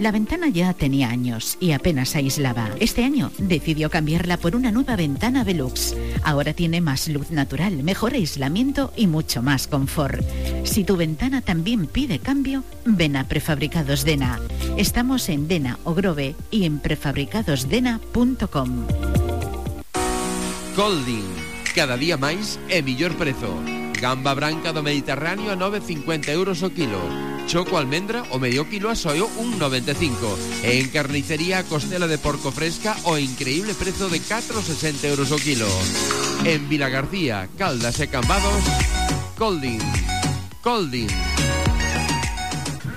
La ventana ya tenía años y apenas aislaba. Este año decidió cambiarla por una nueva ventana Velux. Ahora tiene más luz natural, mejor aislamiento y mucho más confort. Si tu ventana también pide cambio, ven a Prefabricados Dena. Estamos en Dena o Grove y en prefabricadosdena.com. Colding, cada día máis e millor prezo. Gamba branca do Mediterráneo a 9,50 euros o kilo. Choco almendra o medio kilo a só 1,95. E en carnicería a costela de porco fresca o increíble prezo de 4,60 euros o kilo. En Vilagarcía, Caldas e Cambados, Colding. Colding.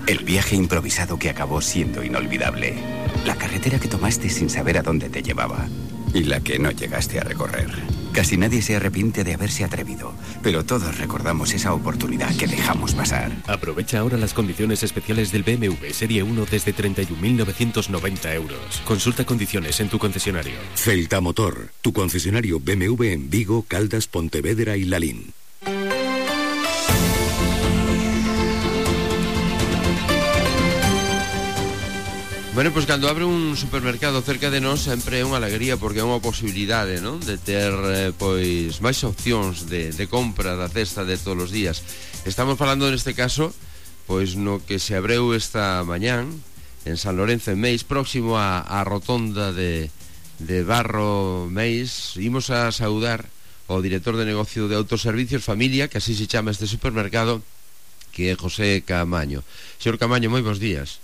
El viaje improvisado que acabó siendo inolvidable. La carretera que tomaste sin saber a dónde te llevaba. Y la que no llegaste a recorrer. Casi nadie se arrepiente de haberse atrevido, pero todos recordamos esa oportunidad que dejamos pasar. Aprovecha ahora las condiciones especiales del BMW Serie 1 desde 31.990 euros. Consulta condiciones en tu concesionario. Celta Motor, tu concesionario BMW en Vigo, Caldas, Pontevedra y Lalín. Bueno, pois cando abre un supermercado cerca de nós sempre é unha alegría porque é unha posibilidade, non? De ter pois máis opcións de compra da cesta de todos os días. Estamos falando neste caso pois no que se abreu esta mañán en San Lorenzo en Meis, próximo á rotonda de Barro Meis. Imos a saudar ao director de negocio de autoservicios Familia, que así se chama este supermercado, que é José Camaño. Señor Camaño, moi bons días.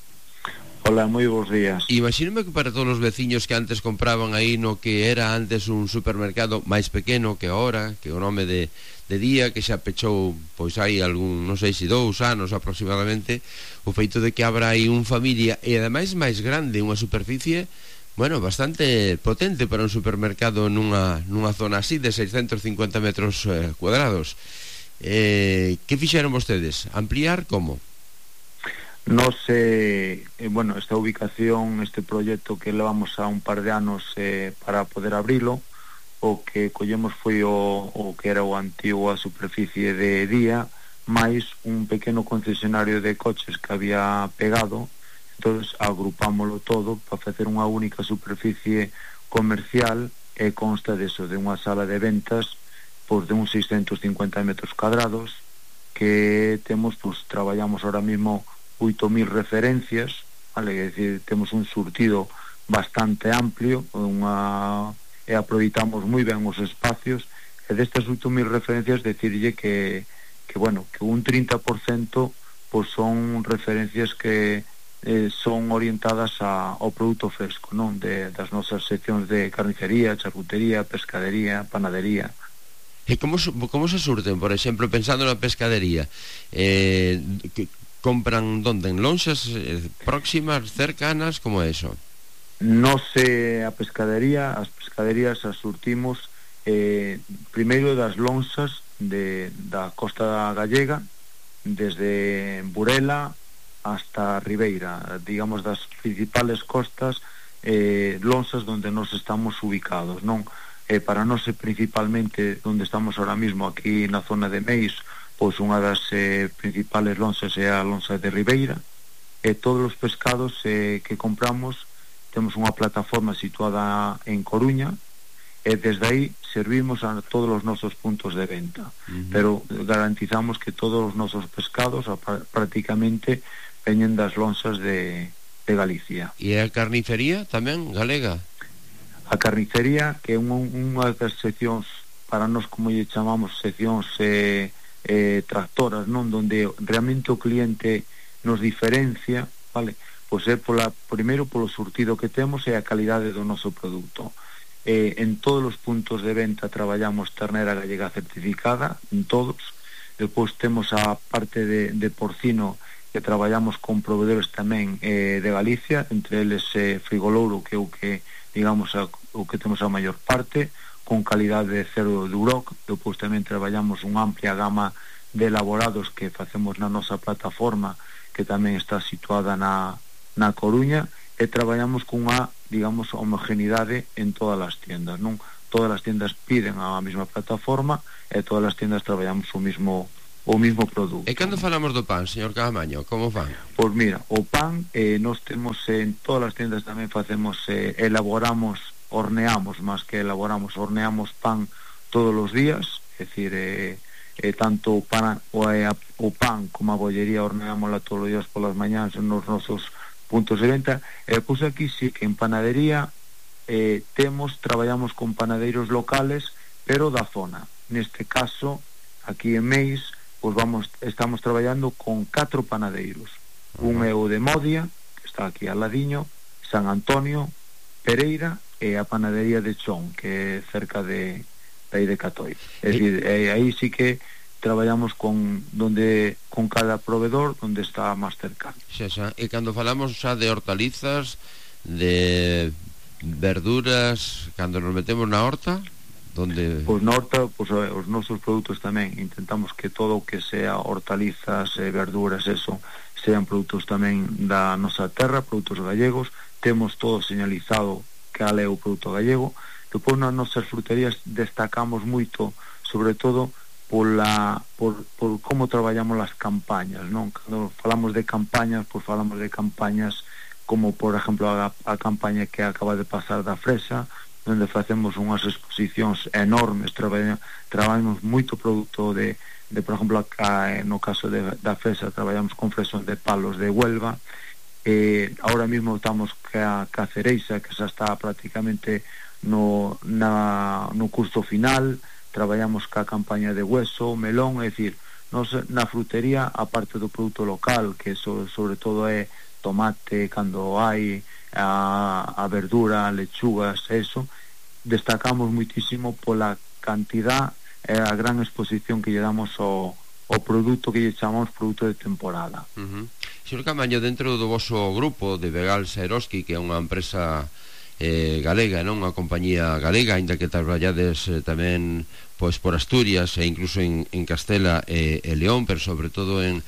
Hola, moi bons días. Imagínome que para todos os veciños que antes compraban aí no que era antes un supermercado máis pequeno que ahora, que o nome de Día, que xa pechou pois hai algún, non sei se 2 anos aproximadamente, o feito de que abra aí un Familia e ademais máis grande, unha superficie, bueno, bastante potente para un supermercado nunha zona así de 650 metros cuadrados. Que fixeron vostedes? Ampliar como? Nos, bueno, esta ubicación, este proxecto que levamos a un par de anos para poder abrilo, o que collemos foi o que era o antigo a superficie de Día, máis un pequeno concesionario de coches que había pegado. Entonces agrupámoslo todo para facer unha única superficie comercial e consta deso, de unha sala de ventas pois de uns 650 metros cuadrados que temos, pois traballamos ahora mismo 8.000 referencias, vale? É dicir, temos un surtido bastante amplio e aproveitamos moi ben os espacios, e destas 8.000 referencias decirlle que bueno, que un 30% pois son referencias que son orientadas ao produto fresco, non? Das nosas seccións de carnicería, charcutería, pescadería, panadería. E como se surten, por exemplo, pensando na pescadería, compran donde? En lonxas próximas, cercanas, como é iso? Nos as pescaderías as surtimos primeiro das lonxas da costa gallega, desde Burela hasta Ribeira, digamos das principales costas, lonxas donde nos estamos ubicados, non? Para nós principalmente onde estamos ahora mismo aquí na zona de Meis, pois unha das principales lonxas é a lonxa de Ribeira, e todos os pescados que compramos temos unha plataforma situada en Coruña, e desde aí servimos a todos os nosos puntos de venta. Pero garantizamos que todos os nosos pescados prácticamente veñen das lonxas de Galicia. E a carnicería tamén galega? A carnicería, que é unha das seccións, para nós como lle chamamos seccións tractoras, non? Donde realmente o cliente nos diferencia, vale? Pois é primeiro polo surtido que temos e a calidade do noso produto. En todos os puntos de venta traballamos ternera gallega certificada, en todos. Depois temos a parte de porcino, que traballamos con proveedores tamén de Galicia, entre eles Frigolouro, que é o que, digamos, o que temos a maior parte, con calidade de cero de Uroc. Depois tamén traballamos unha amplia gama de elaborados que facemos na nosa plataforma, que tamén está situada na Coruña, e traballamos cunha, digamos, homogeneidade en todas as tiendas, non? Todas as tiendas piden a mesma plataforma e todas as tiendas traballamos o mesmo o mismo produto. E cando falamos do pan, señor Caamaño, como fan? Pois mira, o pan nos temos en todas as tiendas tamén facemos, elaboramos, horneamos, máis que elaboramos, horneamos pan todos os días, é dicir, tanto o pan como a bollería horneámosla todos os días polas mañáns nos nosos puntos de venta. E pois aquí sí que en panadería traballamos con panadeiros locales, pero da zona. Neste caso, aquí en Meis, pois estamos traballando con 4 panadeiros. Un é o de Modia, que está aquí al ladiño, San Antonio, Pereira, e a panadería de Chón, que é cerca de aí de Catoi. É dicir, aí sí que traballamos con cada proveedor onde está máis cercano. E cando falamos xa de hortalizas, de verduras, cando nos metemos na horta, donde... Pois na horta, pois, os nosos produtos tamén intentamos que todo o que sea hortalizas, verduras, eso, sean produtos tamén da nosa terra, produtos gallegos. Temos todo señalizado cal é o produto gallego. Depois nas nosas fruterías destacamos moito, sobre todo por como traballamos as campañas, non? Cando falamos de campañas, pois falamos de campañas como, por exemplo, a campaña que acaba de pasar da fresa, onde facemos unhas exposicións enormes, traballamos moito produto de por exemplo, no caso da fresa, traballamos con fresón de palos de Huelva. Ahora mismo estamos ca cereixa, que xa está prácticamente no curso final. Traballamos ca campaña de hueso, melón, é dicir, na frutería, aparte do produto local, que sobre todo é tomate, cando hai a verdura, lechugas, eso, destacamos muitísimo pola cantidad e a gran exposición que lle damos ao produto que lle chamamos produto de temporada. Señor Caamaño, dentro do voso grupo de Vegal Saeroski, que é unha empresa galega, non? Unha compañía galega, aínda que traballades tamén pois por Asturias e incluso en Castela e León, pero sobre todo en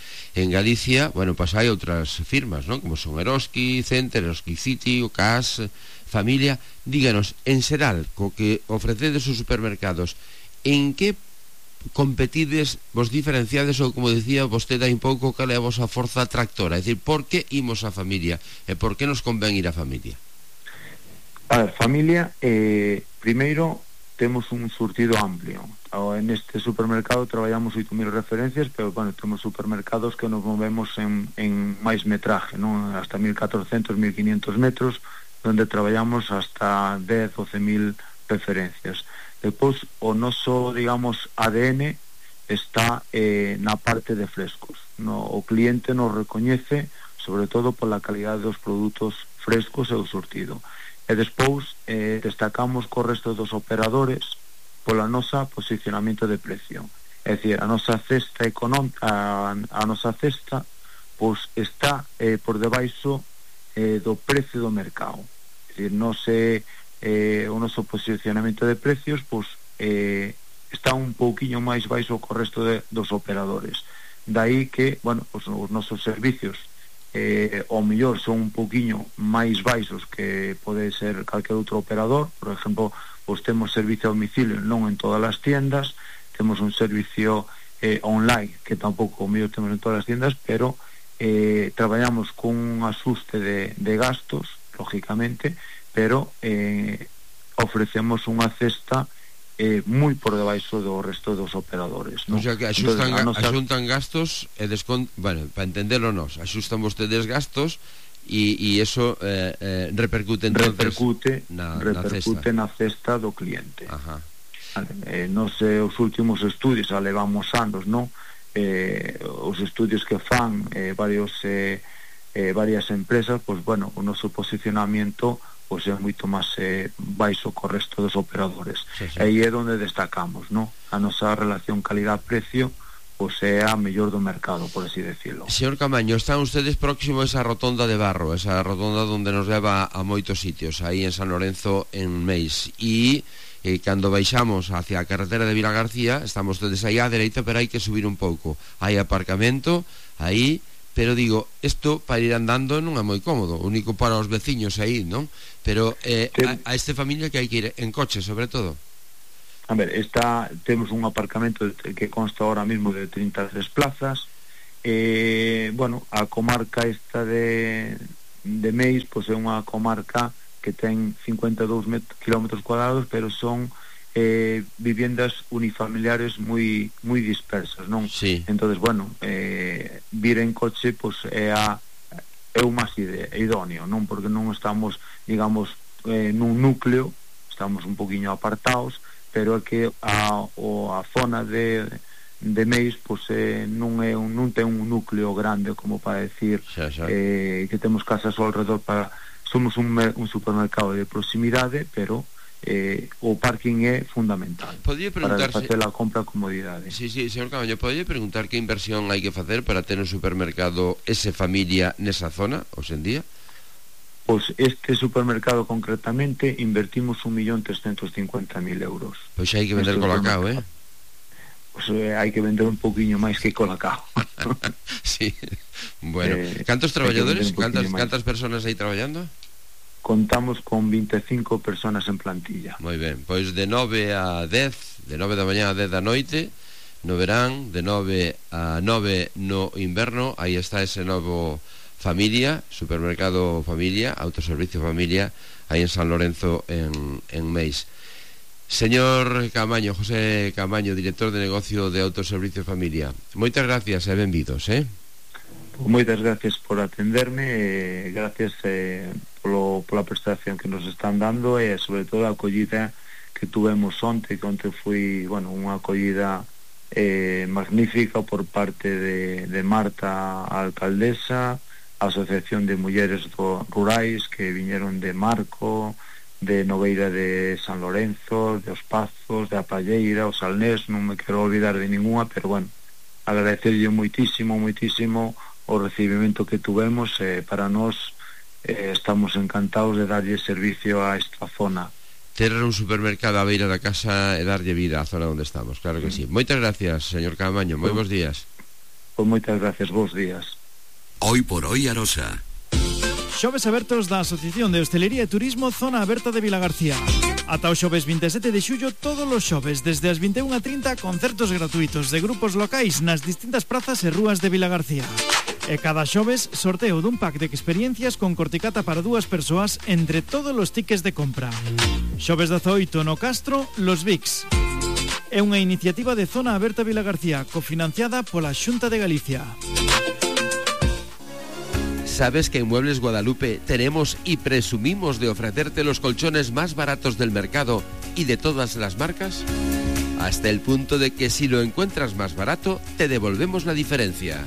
Galicia, bueno, pois hai outras firmas, non? Como son Eroski Center, Eroski City, o CAS, Familia. Díganos, en xeral, co que ofrecedes os supermercados, en que competides, vos diferenciades, ou como dicía vostede hai un pouco, cal é a vosa forza atractora? É dicir, por que imos a Familia e por que nos convén ir a Familia? A ver, Familia, primeiro temos un surtido amplio. En este supermercado traballamos 8.000 referencias, pero bueno, temos supermercados que nos movemos en máis metraje, non? Hasta 1.400, 1.500 metros, onde traballamos hasta 10, 12.000 referencias. Depois, o noso, digamos, ADN está na parte de frescos. O cliente nos recoñece, sobre todo pola calidad dos produtos frescos e o surtido. E despois destacamos co resto dos operadores pola nosa posicionamento de precio. É dicir, a nosa cesta pois está por debaixo do precio do mercado. É dicir, o noso posicionamento de precios pois está un pouquiño máis baixo co resto dos operadores. Daí que, bueno, pois os nosos servicios ao mellor son un pouquiño máis baixos que pode ser calquer outro operador. Por exemplo, pois temos servicio a domicilio non en todas as tiendas, temos un servicio online que tampouco o mellor temos en todas as tiendas, pero traballamos con un asuste de gastos, lógicamente, pero ofrecemos unha cesta moi por debaixo do resto dos operadores, non? O sea que axuntan gastos e bueno, para entendelo nos, axustan vostedes gastos e eso repercute entonces na cesta do cliente. Ajá. Nos os últimos estudios, levamos anos, non? Os estudios que fan varias empresas, pois bueno, o noso posicionamento pois é moito máis baixo co resto dos operadores. Aí é onde destacamos, non? A nosa relación calidad-precio pois é a mellor do mercado, por así decirlo. Señor Caamaño, están ustedes próximo a esa rotonda de Barro, esa rotonda onde nos leva a moitos sitios, aí en San Lorenzo, en Meis, e cando baixamos hacia a carretera de Vilagarcía, estamos todos aí á dereita, pero hai que subir un pouco. Hai aparcamento aí, pero digo, isto para ir andando non é moi cómodo, único para os veciños aí, non? Pero a esta familia que hai que ir en coche, sobre todo. A ver, temos un aparcamento que consta ahora mismo de 33 plazas. Bueno, a comarca esta de Meis, pois é unha comarca que ten 52 km cuadrados, pero son viviendas unifamiliares moi dispersas, non? Sí. Entonces, bueno, vir en coche pois é o máis idóneo, non? Porque non estamos, digamos, nun núcleo, estamos un poquinho apartados, pero é que a zona de Meis pois non ten un núcleo grande como para decir que temos casas ao redor somos un supermercado de proximidade, pero o parking é fundamental para facer a compra a comodidade. Sí, señor Caamaño, podelle preguntar que inversión hai que facer para ter un supermercado ese familia nesa zona, hoxe en día? Pois este supermercado concretamente invertimos 1.350.000 euros. Pois hai que vender Colacao, Pois hai que vender un pouquiño máis que Colacao. Sí, bueno. Cantos traballadores, cantas personas aí traballando? Contamos con 25 personas en plantilla. Moi ben, pois de 9 a 10, de 9 da mañá a 10 da noite, no verán, de 9 a 9 no inverno, aí está ese novo Familia, supermercado Familia, autoservicio Familia, aí en San Lorenzo, en Meis. Señor Caamaño, José Caamaño, director de negocio de autoservicio Familia, moitas gracias e benvidos, Moitas gracias por atenderme, gracias pola prestación que nos están dando e sobre todo a acollida que tuvemos onte, que onte foi, bueno, unha acollida magnífica por parte de Marta, a alcaldesa, a Asociación de Mulleres Rurais que viñeron de Marco, de Nogueira de San Lorenzo, de Os Pazos, de A Palleira, o Salnés, non me quero olvidar de ninguna, pero bueno, agradecerlle moitísimo o recibimento que tuvemos, para nós estamos encantados de darlle servicio a esta zona. Ter un supermercado á beira da casa e darlle vida á zona onde estamos, claro que sí. Moitas gracias, señor Caamaño, moi bons días. Pois moitas gracias, bons días. Hoy por hoy Arosa. Xoves abertos da Asociación de Hostelería e Turismo Zona Aberta de Vilagarcía. Ata o xoves 27 de xullo, todos os xoves, desde as 21:30, concertos gratuitos de grupos locais nas distintas prazas e rúas de Vilagarcía. E cada xoves, sorteo dun pack de experiencias con corticata para 2 persoas entre todos os tickets de compra. Xoves 18 no Castro, Los Vics. É unha iniciativa de Zona Aberta Vilagarcía, cofinanciada pola Xunta de Galicia. ¿Sabes que en Muebles Guadalupe tenemos y presumimos de ofrecerte los colchones más baratos del mercado y de todas las marcas? Hasta el punto de que si lo encuentras más barato, te devolvemos la diferencia.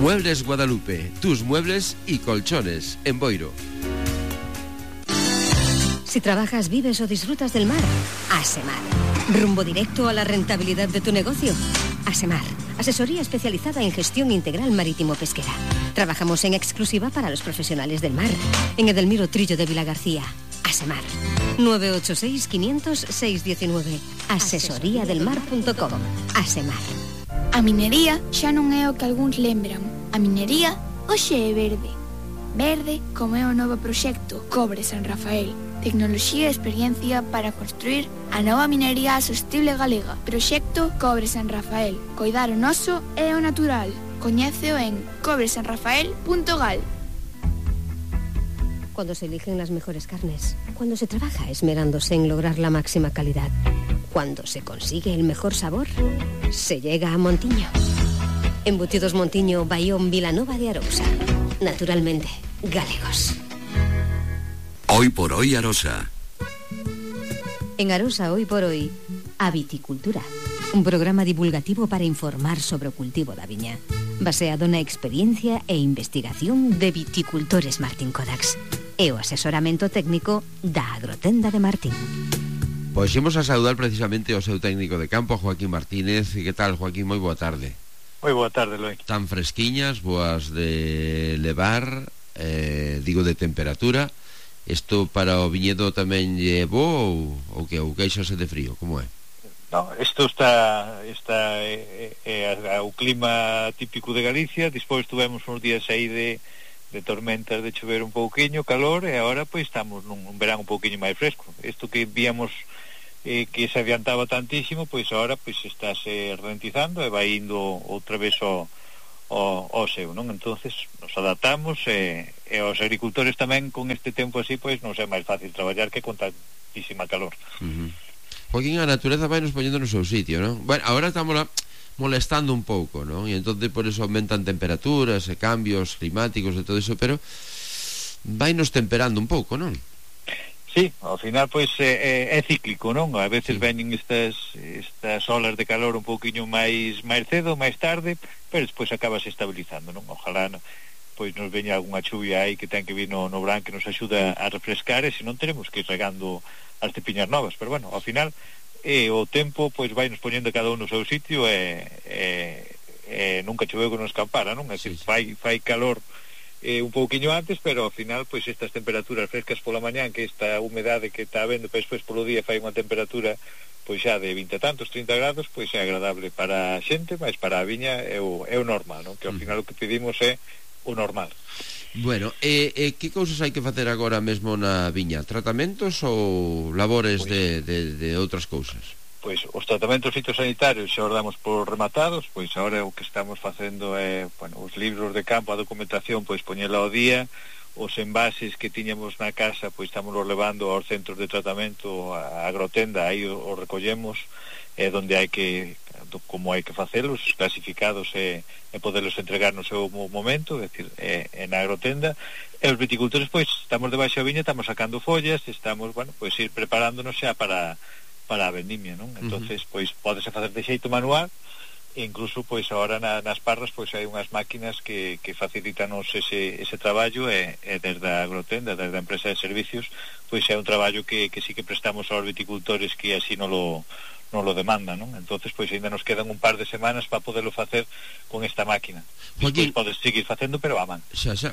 Muebles Guadalupe, tus muebles y colchones en Boiro. Si trabajas, vives o disfrutas del mar, Asemar. Rumbo directo a la rentabilidad de tu negocio. Asemar, asesoría especializada en gestión integral marítimo-pesquera. Trabajamos en exclusiva para los profesionales del mar. En Edelmiro Trillo de Vilagarcía. Asemar. 986-500-619. Asesoriadelmar.com. Asemar. A minería xa non é o que algúns lembran. A minería hoxe é verde. Verde como é o novo proxecto Cobre San Rafael. Tecnoloxía e experiencia para construir a nova minería sostible galega. Proxecto Cobre San Rafael. Coidar o noso e o natural. Coñéceo en cobresanrafael.gal. Cuando se eligen las mejores carnes, cuando se trabaja esmerándose en lograr la máxima calidad, cuando se consigue el mejor sabor, se llega a Montiño. Embutidos Montiño, Bayón, Vilanova de Arousa. Naturalmente, galegos. Hoy por hoy Arosa. En Arosa Hoy por Hoy, a Viticultura. Un programa divulgativo para informar sobre o cultivo da viña, baseado na experiencia e investigación de viticultores Martín Kodax e o asesoramento técnico da Agrotenda de Martín. Pois imos a saudar precisamente o seu técnico de campo, Joaquín Martínez. Que tal, Joaquín? Moi boa tarde. Moi boa tarde, Loi. Tan fresquiñas, boas de levar, digo de temperatura. Isto para o viñedo tamén lle bo ou que ou queixase de frío, como é? No, isto está o clima típico de Galicia. Despois tuvemos uns días aí de tormentas, de chover un pouquiño, calor, e agora pois estamos nun verán un pouquiño máis fresco. Isto que víamos que se adiantaba tantísimo, pois agora pois estáse ralentizando e vai indo outra vez ao seu, non? Entonces nos adaptamos e os agricultores tamén con este tempo así pois non é máis fácil traballar que con tantísima calor. Joaquín, a natureza vai nos poñendo no seu sitio, non? Bueno, agora estamos molestando un pouco, non? E entonces por eso aumentan temperaturas e cambios climáticos e todo eso, pero vai nos temperando un pouco, non? Sí, ao final pois é cíclico, non? A veces veñen estas olas de calor un pouquiño máis cedo, máis tarde, pero despois acabase estabilizando, non? Ojalá pois nos veña algunha chuvia aí que ten que vir no verán que nos axuda a refrescar, e se non teremos que ir regando as tepiñas novas, pero bueno, ao final o tempo pois vai nos poñendo cada un no seu sitio e nunca choveu que nos escampara, non? É dicir, fai calor un pouquiño antes, pero ao final pois estas temperaturas frescas pola mañán, que esta humedade que está habendo, pois polo día fai unha temperatura pois xa de 20 e tantos, 30 grados, pois é agradable para a xente, mas para a viña é o normal, non? Que ao final o que pedimos é o normal. Bueno, que cousas hai que facer agora mesmo na viña? Tratamentos ou labores de outras cousas? Pois os tratamentos fitosanitarios xa os damos por rematados, pois agora o que estamos facendo é, bueno, os libros de campo, a documentación, pois poñela ao día, os envases que tiñamos na casa, pois estamos levando aos centros de tratamento, a agrotenda, aí os recollemos, donde hai que, como hai que facelos, clasificados e poderlos entregar no seu momento, é dicir, na agrotenda, e os viticultores, pois, estamos debaixo da viña, estamos sacando follas, estamos, bueno, pois ir preparándonos xa para a vendimia, non? Entonces, pois, pódese facer de xeito manual, e incluso, pois, agora nas parras, pois, hai unhas máquinas que facilitanos ese traballo, e desde a agrotenda, desde a empresa de servicios, pois é un traballo que sí que prestamos aos viticultores que así non lo demandan, non? Entonces, pois, ainda nos quedan un par de semanas para poderlo facer con esta máquina. Despois podes seguir facendo, pero a man.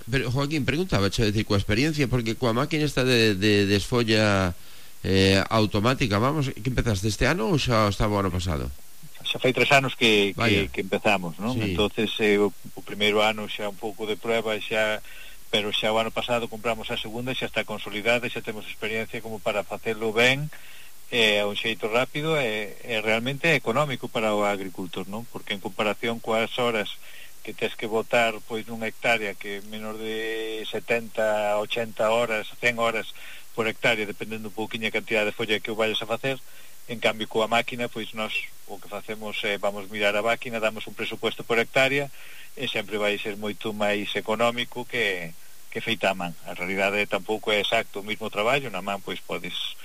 Pero, Joaquín, preguntaba, decir, coa experiencia, porque coa máquina esta de desfolla automática, vamos, que empezaste este ano ou xa estaba o ano pasado? Xa fai 3 anos que empezamos, non? Sí. Entonces o primeiro ano xa un pouco de prueba, pero xa o ano pasado compramos a segunda e xa está consolidada, xa temos experiencia como para facelo ben, a un xeito rápido e realmente económico para o agricultor, non? Porque en comparación coas horas que tes que botar pois nunha hectárea que menor de 70, 80 horas, 100 horas por hectárea, dependendo un pouquinho a cantidad de folla que o vayas a facer. En cambio, coa máquina, pois nós o que facemos é vamos mirar a máquina, damos un presupuesto por hectárea e sempre vai ser moito máis económico que feita a man. A realidade tampouco é exacto o mesmo traballo, na man pois podes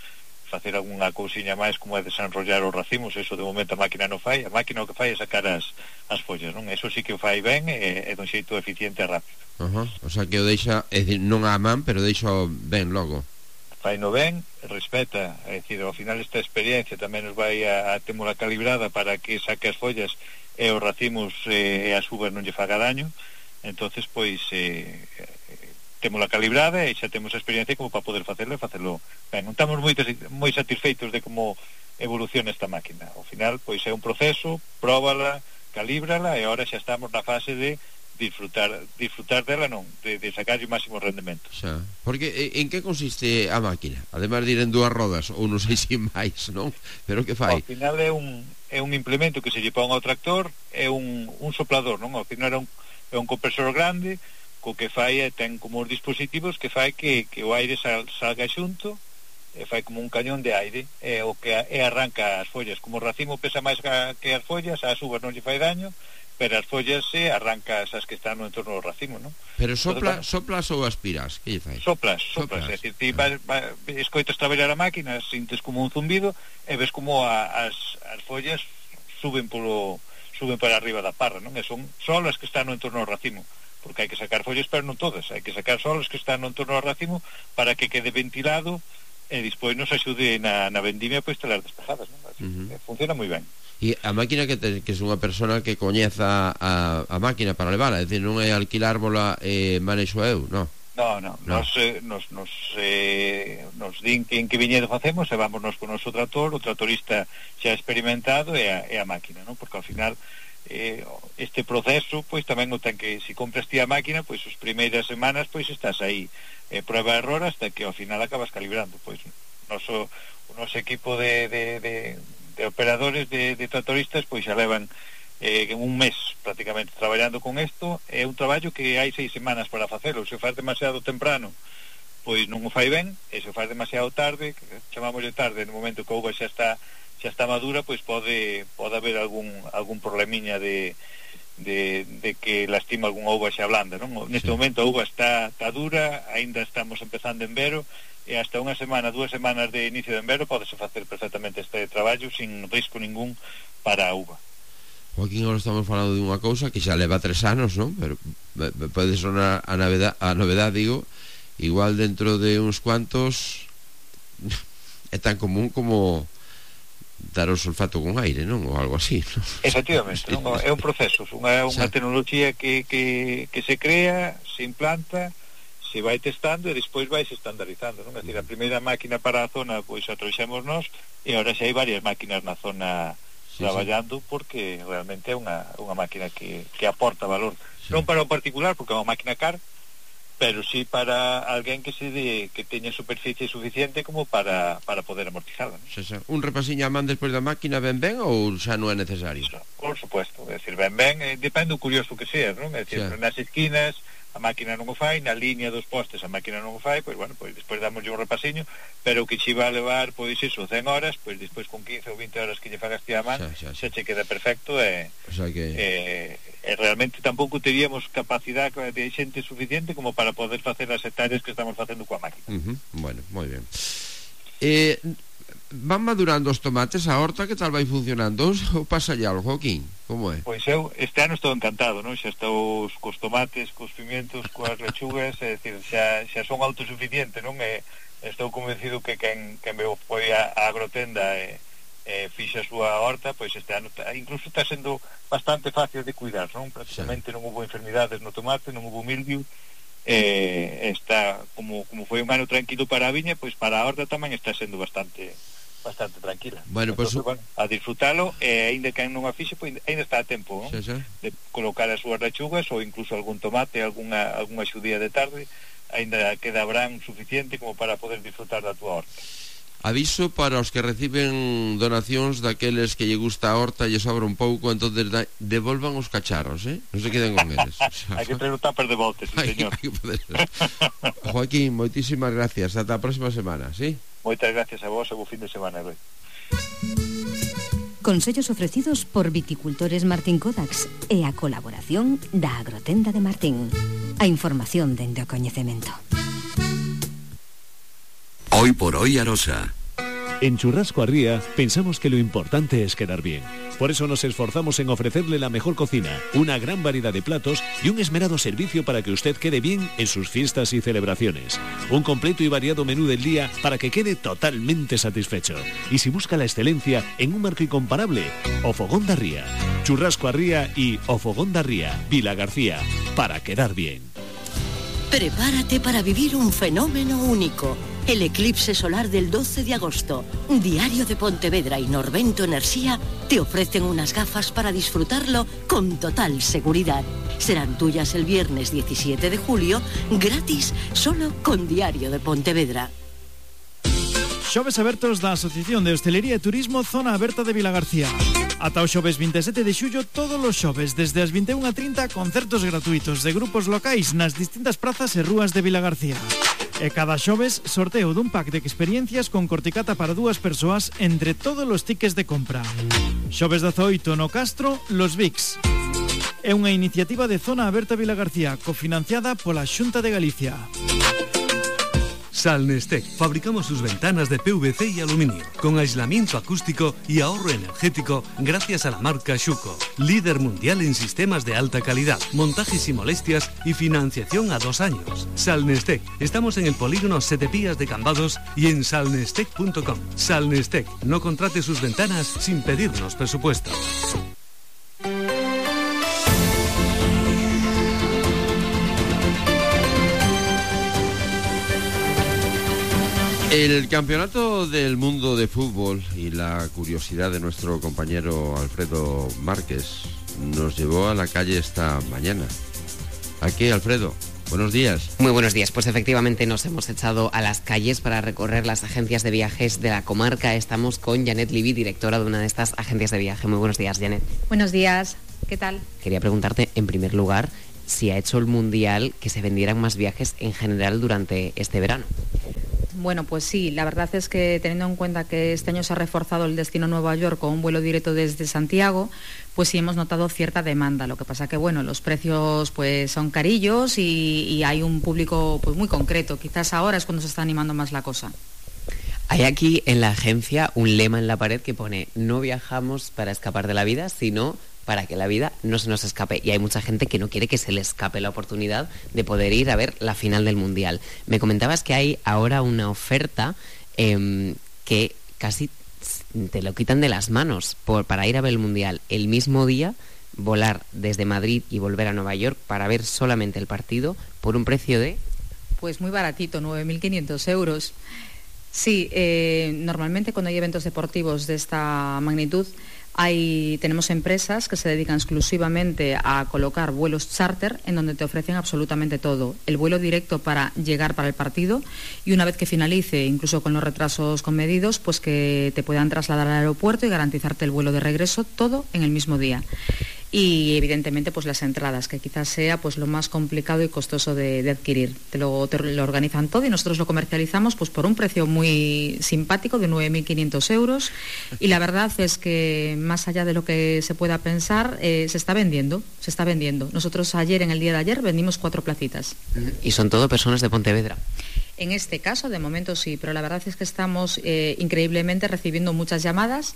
facer algunha cousiña máis como é desenrollar os racimos, eso de momento a máquina non fai, a máquina o que fai é sacar as follas, non? Eso sí que o fai ben e dun xeito eficiente e rápido. O sea que o deixa, é dicir, non a man, pero deixa ben logo. Fai no ben, respeta, é dicir, ao final esta experiencia tamén nos vai a témola calibrada para que saque as follas e os racimos e as uvas non lle faga daño. Entonces, pois témola calibrada e xa temos a experiencia como para poder facelo ben. Non estamos moi satisfeitos de como evoluciona esta máquina. Ao final, pois é un proceso, próbala, calíbrala e agora xa estamos na fase de disfrutar dela, non, de sacar o máximo rendemento. Xa, porque en que consiste a máquina? Ademais de ir en 2 rodas, ou non sei se máis, non? Pero que fai? Ao final é un implemento que se lle pon ao tractor, é un soplador, non? Ao final é un compresor grande, co que fai ten como os dispositivos que fai que o aire salga xunto, e fai como un cañón de aire, o que arranca as follas. Como o racimo pesa máis que as follas, as uvas non lle fai daño, pero as follas arranca esas que están no entorno do racimo, non? Pero soplas ou aspiras? Que lle fai? Soplas, é dicir, ti escoitas traballar a máquina, sintes como un zumbido e ves como as follas suben para arriba da parra, non? E son só as que están no entorno do racimo, porque hai que sacar follas, pero non todas, hai que sacar só as que están no entorno do racimo para que quede ventilado e despois nos axude na vendimia pois telas despejadas, non? Así, funciona moi ben. E a máquina que é unha persona que coñeza a máquina para levala, é dicir, non é alquilárbola e manexo eu, non? Non. Nos din que en que viñedo facemos e vámonos con o noso trator, o tratorista xa experimentado e a máquina, non? Porque ao final este proceso pois tamén o ten que, se compras ti a máquina, pois as primeiras semanas pois estás aí prueba e error hasta que ao final acabas calibrando, pois o noso equipo de operadores de tractoristas pois xa levan un mes prácticamente traballando con isto. É un traballo que hai 6 semanas para facelo. Se o faz demasiado temprano pois non o fai ben, e se o faz demasiado tarde, chamámoslle tarde, no momento que a uva xa está madura, pois pode haber algún problemiña de que lastima algunha uva xa blanda, non? Neste momento a uva está dura, aínda estamos empezando en vero, e hasta 2 semanas de inicio de envero podese facer perfectamente este traballo sin risco ningún para a uva. Joaquín, agora estamos falando de unha cousa que xa leva 3 anos, non? Pero pode sonar a novedade, digo, igual dentro de uns cuantos é tan común como dar o sulfato con aire, non? Ou algo así, non? Efectivamente, non? É un proceso, unha tecnología que se crea, se implanta, se vai testando e despois vai se estandarizando, non? É dicir, a primeira máquina para a zona pois a trouxemos nós, e agora xa hai varias máquinas na zona traballando, porque realmente é unha máquina que aporta valor, non para o particular, porque é unha máquina cara, pero sí para alguén que teña superficie suficiente como para poder amortizarla, non? Un repasiño a man despois da máquina ben ou xa non é necesario? Por supuesto, é dicir, ben, depende do curioso que seas, non? É dicir, nas esquinas a máquina non o fai, na liña dos postes a máquina non o fai, pois bueno, pois despois damoslle un repasiño, pero o que che va a levar, pois iso, 100 horas, pois despois con 15 ou 20 horas que lle fagas ti a man, xa che queda perfecto, e realmente tampouco teríamos capacidade de xente suficiente como para poder facer as hectáreas que estamos facendo coa máquina. Bueno, moi ben. Van madurando os tomates, a horta, que tal vai funcionando? Ou pasa algo, Joaquín? Como é? Pois eu este ano estou encantado, non? Xa estou cos tomates, cos pimientos, coas lechugas, é dicir, xa son autosuficiente, non? Estou convencido que quen me foi a agrotenda fixa a súa horta, pois este ano incluso está sendo bastante fácil de cuidar, non? Prácticamente non hubo enfermidades no tomate, non hubo mildiu, está como foi un ano tranquilo para a viña, pois para a horta tamén está sendo bastante tranquila. Bueno, entonces, a disfrutalo, e aínda que non a fixe, pois aínda está a tempo, non? De colocar as súas lechugas ou incluso algún tomate, algunha xudía de tarde, aínda quedabrán suficiente como para poder disfrutar da túa horta. Aviso para os que reciben donacións daqueles que lle gusta a horta e lle sobra un pouco, entonces devolvan os cacharros, non se queden con eles. Hai que ter o tupper de voltes, señor. Joaquín, moitísimas gracias, ata a próxima semana, ¿sí? Moitas gracias a vos e bo fin de semana, Rui. Consellos ofrecidos por Viticultores Martín Codax e a colaboración da Agrotenda de Martín. A información dende o coñecemento. Hoy por hoy Arosa. En Churrasco Arría pensamos que lo importante es quedar bien. Por eso nos esforzamos en ofrecerle la mejor cocina, una gran variedad de platos y un esmerado servicio para que usted quede bien en sus fiestas y celebraciones. Un completo y variado menú del día para que quede totalmente satisfecho. Y si busca la excelencia en un marco incomparable, O Fogón da Ría. Churrasco Arría y O Fogón da Ría, Vilagarcía, para quedar bien. Prepárate para vivir un fenómeno único. El eclipse solar del 12 de agosto. Diario de Pontevedra y Norvento Enerxía te ofrecen unas gafas para disfrutarlo con total seguridad. Serán tuyas el viernes 17 de julio, gratis, solo con Diario de Pontevedra. Xoves abertos da Asociación de Hostelería e Turismo Zona Aberta de Vilagarcía. Ata o xoves 27 de xullo, todos os xoves, desde as 21:30, concertos gratuitos de grupos locais nas distintas prazas e rúas de Vilagarcía. E cada xoves, sorteo dun pack de experiencias con corticata para 2 persoas entre todos os tickets de compra. Xoves 18 no Castro, Los Vics. É unha iniciativa de Zona Aberta Vilagarcía, cofinanciada pola Xunta de Galicia. Salnestec. Fabricamos sus ventanas de PVC y aluminio, con aislamiento acústico y ahorro energético gracias a la marca Schuco, líder mundial en sistemas de alta calidad, montajes y molestias y financiación a 2 años. Salnestec. Estamos en el polígono Setepías de Cambados y en salnestec.com. Salnestec. No contrate sus ventanas sin pedirnos presupuesto. El campeonato del mundo de fútbol y la curiosidad de nuestro compañero Alfredo Márquez nos llevó a la calle esta mañana. ¿A qué, Alfredo? Buenos días. Muy buenos días. Pues efectivamente nos hemos echado a las calles para recorrer las agencias de viajes de la comarca. Estamos con Janet Libby, directora de una de estas agencias de viaje. Muy buenos días, Janet. Buenos días. ¿Qué tal? Quería preguntarte, en primer lugar, si ha hecho el Mundial que se vendieran más viajes en general durante este verano. Bueno, pues sí, la verdad es que teniendo en cuenta que este año se ha reforzado el destino Nueva York con un vuelo directo desde Santiago, pues sí hemos notado cierta demanda. Lo que pasa que, bueno, los precios pues son carillos y hay un público pues muy concreto. Quizás ahora es cuando se está animando más la cosa. Hay aquí en la agencia un lema en la pared que pone: no viajamos para escapar de la vida, sino para que la vida no se nos escape. Y hay mucha gente que no quiere que se le escape la oportunidad de poder ir a ver la final del Mundial. Me comentabas que hay ahora una oferta que casi te lo quitan de las manos para ir a ver el Mundial. El mismo día, volar desde Madrid y volver a Nueva York para ver solamente el partido por un precio de... Pues muy baratito, 9.500 euros. Sí, normalmente cuando hay eventos deportivos de esta magnitud, tenemos empresas que se dedican exclusivamente a colocar vuelos charter en donde te ofrecen absolutamente todo. El vuelo directo para llegar para el partido y una vez que finalice, incluso con los retrasos comedidos, pues que te puedan trasladar al aeropuerto y garantizarte el vuelo de regreso, todo en el mismo día. Y evidentemente pues las entradas, que quizás sea pues lo más complicado y costoso de adquirir. Te lo organizan todo y nosotros lo comercializamos pues por un precio muy simpático de 9.500 euros y la verdad es que más allá de lo que se pueda pensar, se está vendiendo. Nosotros ayer, en el día de ayer, vendimos 4 placitas. ¿Y son todo personas de Pontevedra? En este caso, de momento sí, pero la verdad es que estamos increíblemente recibiendo muchas llamadas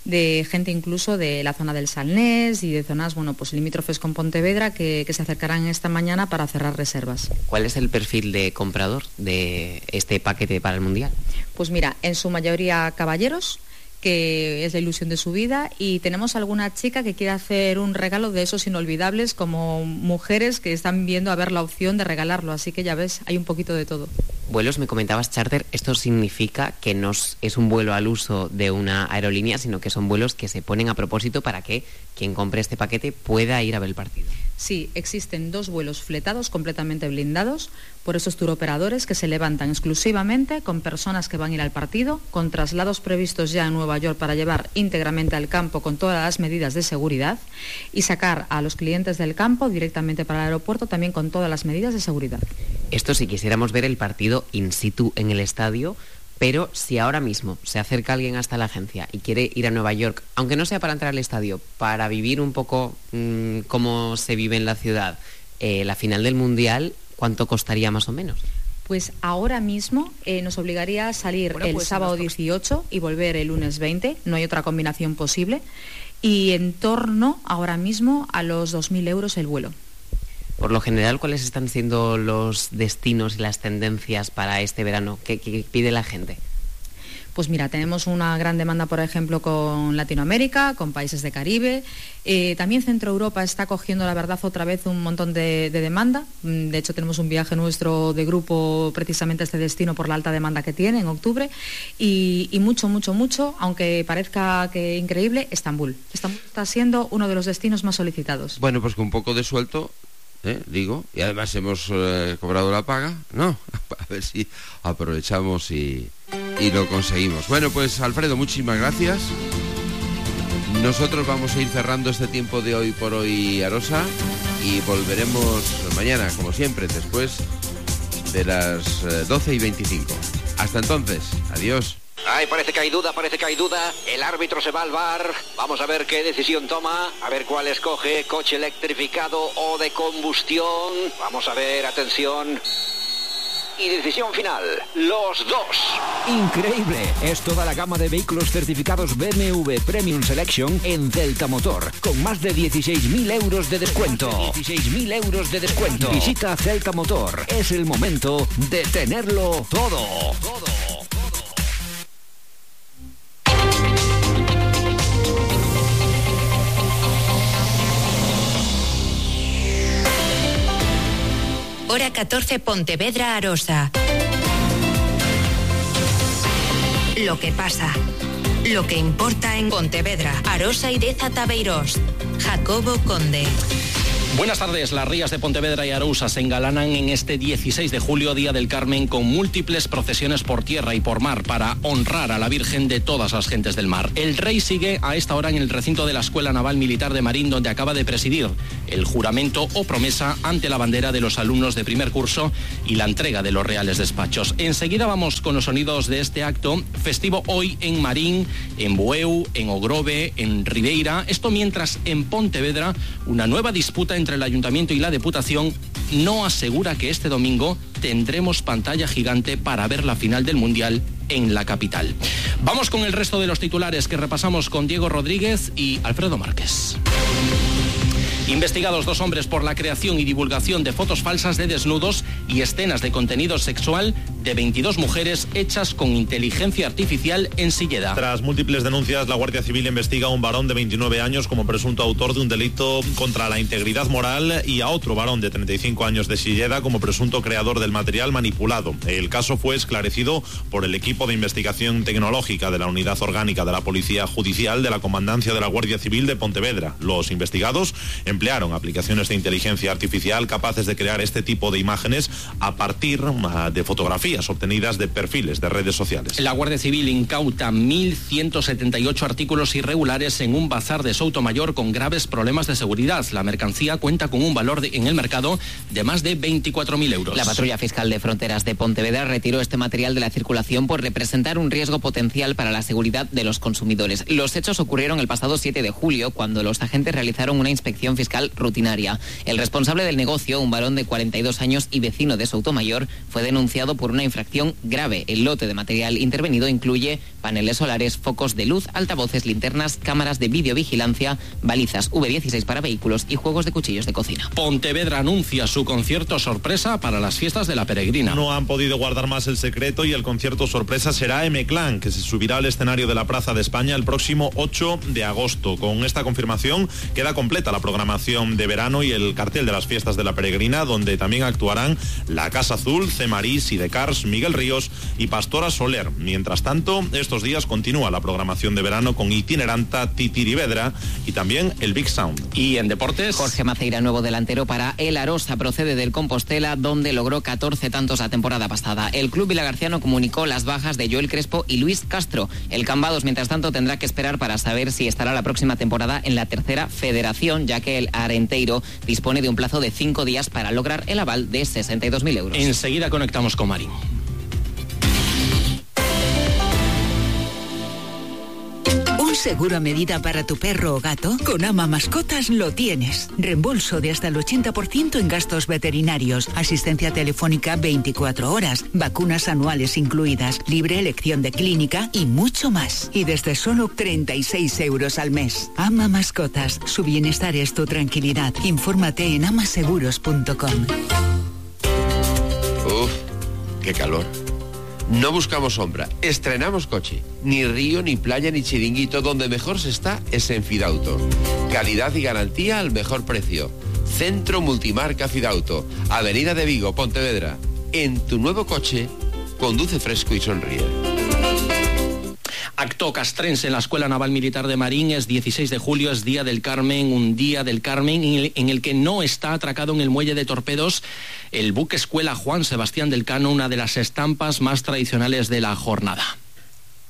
de gente incluso de la zona del Salnés y de zonas, bueno, pues limítrofes con Pontevedra que se acercarán esta mañana para cerrar reservas. ¿Cuál es el perfil de comprador de este paquete para el Mundial? Pues mira, en su mayoría caballeros, que es la ilusión de su vida, y tenemos alguna chica que quiere hacer un regalo de esos inolvidables, como mujeres que están viendo a ver la opción de regalarlo, así que ya ves, hay un poquito de todo. Vuelos, me comentabas charter, esto significa que no es un vuelo al uso de una aerolínea, sino que son vuelos que se ponen a propósito para que quien compre este paquete pueda ir a ver el partido. Sí, existen 2 vuelos fletados completamente blindados por esos turoperadores que se levantan exclusivamente con personas que van a ir al partido, con traslados previstos ya en Nueva York para llevar íntegramente al campo con todas las medidas de seguridad y sacar a los clientes del campo directamente para el aeropuerto también con todas las medidas de seguridad. Esto si quisiéramos ver el partido in situ en el estadio, pero si ahora mismo se acerca alguien hasta la agencia y quiere ir a Nueva York, aunque no sea para entrar al estadio, para vivir un poco cómo se vive en la ciudad, la final del Mundial, ¿cuánto costaría más o menos? Pues ahora mismo nos obligaría a salir el sábado 18 y volver el lunes 20, no hay otra combinación posible, y en torno ahora mismo a los 2.000 euros el vuelo. Por lo general, ¿cuáles están siendo los destinos y las tendencias para este verano? ¿Qué pide la gente? Pues mira, tenemos una gran demanda, por ejemplo, con Latinoamérica, con países de Caribe. También Centro Europa está cogiendo, la verdad, otra vez un montón de demanda. De hecho, tenemos un viaje nuestro de grupo precisamente a este destino por la alta demanda que tiene en octubre. Y mucho, aunque parezca que increíble, Estambul. Estambul está siendo uno de los destinos más solicitados. Bueno, pues con un poco de suelto... digo, y además hemos cobrado la paga, ¿no? A ver si aprovechamos y lo conseguimos. Bueno, pues Alfredo, muchísimas gracias. Nosotros vamos a ir cerrando este tiempo de Hoy por Hoy, Arosa, y volveremos mañana, como siempre, después de las 12:25. Hasta entonces, adiós. Ay, parece que hay duda. El árbitro se va al VAR. Vamos a ver qué decisión toma. A ver cuál escoge, coche electrificado o de combustión. Vamos a ver, atención. Y decisión final, los 2. Increíble, es toda la gama de vehículos certificados BMW Premium Selection en Celta Motor, con más de 16.000 euros de descuento. 16.000 euros de descuento. Visita Celta Motor, es el momento de tenerlo todo. Hora 14, Pontevedra, Arosa. Lo que pasa, lo que importa en Pontevedra, Arosa y Deza Tabeirós. Jacobo Conde. Buenas tardes. Las rías de Pontevedra y Arousa se engalanan en este 16 de julio, Día del Carmen, con múltiples procesiones por tierra y por mar para honrar a la Virgen de todas las gentes del mar. El rey sigue a esta hora en el recinto de la Escuela Naval Militar de Marín, donde acaba de presidir el juramento o promesa ante la bandera de los alumnos de primer curso y la entrega de los reales despachos. Enseguida vamos con los sonidos de este acto festivo hoy en Marín, en Bueu, en Ogrove, en Ribeira. Esto mientras en Pontevedra una nueva disputa entre el Ayuntamiento y la Deputación no asegura que este domingo tendremos pantalla gigante para ver la final del Mundial en la capital. Vamos con el resto de los titulares que repasamos con Diego Rodríguez y Alfredo Márquez. Investigados 2 hombres por la creación y divulgación de fotos falsas de desnudos y escenas de contenido sexual de 22 mujeres hechas con inteligencia artificial en Silleda. Tras múltiples denuncias, la Guardia Civil investiga a un varón de 29 años como presunto autor de un delito contra la integridad moral y a otro varón de 35 años de Silleda como presunto creador del material manipulado. El caso fue esclarecido por el equipo de investigación tecnológica de la Unidad Orgánica de la Policía Judicial de la Comandancia de la Guardia Civil de Pontevedra. Los investigados emplearon aplicaciones de inteligencia artificial capaces de crear este tipo de imágenes a partir de fotografías obtenidas de perfiles de redes sociales. La Guardia Civil incauta 1.178 artículos irregulares en un bazar de Soutomayor con graves problemas de seguridad. La mercancía cuenta con un valor en el mercado de más de 24.000 euros. La Patrulla Fiscal de Fronteras de Pontevedra retiró este material de la circulación por representar un riesgo potencial para la seguridad de los consumidores. Los hechos ocurrieron el pasado 7 de julio, cuando los agentes realizaron una inspección fiscal rutinaria. El responsable del negocio, un varón de 42 años y vecino de Soutomayor, fue denunciado por una infracción grave. El lote de material intervenido incluye paneles solares, focos de luz, altavoces, linternas, cámaras de videovigilancia, balizas V16 para vehículos y juegos de cuchillos de cocina. Pontevedra anuncia su concierto sorpresa para las fiestas de la Peregrina. No han podido guardar más el secreto y el concierto sorpresa será M-Clan, que se subirá al escenario de la Plaza de España el próximo 8 de agosto. Con esta confirmación queda completa la programación de verano y el cartel de las fiestas de la Peregrina, donde también actuarán La Casa Azul, Cemarís, Sidecars, Miguel Ríos y Pastora Soler. Mientras tanto, estos días continúa la programación de verano con Itineranta, Titirivedra y también el Big Sound. Y en deportes, Jorge Maceira, nuevo delantero para el Arosa, procede del Compostela, donde logró 14 tantos la temporada pasada. El club vilagarciano comunicó las bajas de Joel Crespo y Luis Castro. El Cambados, mientras tanto, tendrá que esperar para saber si estará la próxima temporada en la tercera federación, ya que el Arenteiro dispone de un plazo de 5 días para lograr el aval de 62.000 euros. Enseguida conectamos con Marín. ¿Un seguro a medida para tu perro o gato? Con Ama Mascotas lo tienes. Reembolso de hasta el 80% en gastos veterinarios, asistencia telefónica 24 horas, vacunas anuales incluidas, libre elección de clínica y mucho más. Y desde solo 36 euros al mes. Ama Mascotas, su bienestar es tu tranquilidad. Infórmate en amaseguros.com. Uf, qué calor. No buscamos sombra, estrenamos coche. Ni río, ni playa, ni chiringuito. Donde mejor se está es en Fidauto. Calidad y garantía al mejor precio. Centro Multimarca Fidauto. Avenida de Vigo, Pontevedra. En tu nuevo coche, conduce fresco y sonríe. Acto castrense en la Escuela Naval Militar de Marín. Es 16 de julio, es Día del Carmen, un Día del Carmen en el que no está atracado en el muelle de Torpedos el buque escuela Juan Sebastián del Cano, una de las estampas más tradicionales de la jornada.